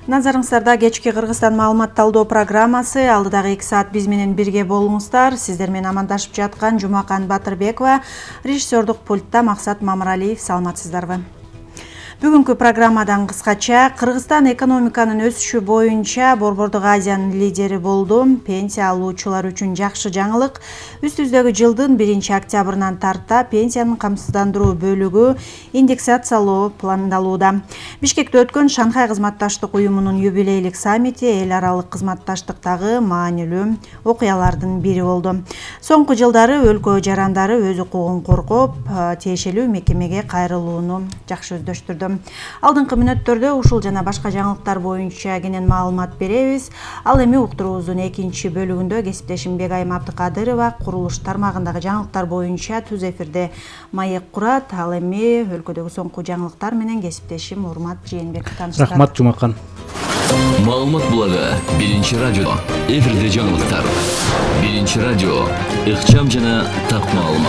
Назарыңыздарда кечки Кыргызстан маалымат талдоо программасы. Алдыдагы 2 саат биз менен бирге болуңуздар. Сиздер менен амандашып жаткан Жумакан Батырбекова, режиссердук пультта Максат Мамыралиев. Саламатсыздарбы? Бүгүнкү программадан кыскача Кыргызстан экономиканын өсүшү боюнча Борбордук Азиянын лидери болду. Пенсия алуучулар үчүн жакшы жаңылык. Үстүбүздөгү жылдын 1-октябрынан тарта пенсиянын камсыздандыруу бөлүгү индексациялоо пландалууда. Бишкекте өткөн Шанхай кызматташтык уюмунун юбилейлик саммити эл аралык кызматташтыктагы маанилүү окуялардын бири болду. Соңку жылдары өлкө жарандары өз укугун коргоп, тиешелүү мекемеге кайрылууну жакшы өздөштүрдү. Алдыңкы мүнөттөрдө ушул жана башка жаңылыктар боюнча кенен маалымат беребиз. Ал эми уктуруубуздун экинчи бөлүгүндө кесиптешим Бегайым Абдыкадырова курулуш тармагындагы жаңылыктар боюнча түз эфирде маек курат. Ал эми өлкөдөгү соңку жаңылыктар менен кесиптешим Урмат Жээнбеков тааныштырат. Рахмат Жумакан. Маалымат булагы биринчи радио. Эфирде жаңылыктар. Биринчи радио. Ыкчам жана так маалымат.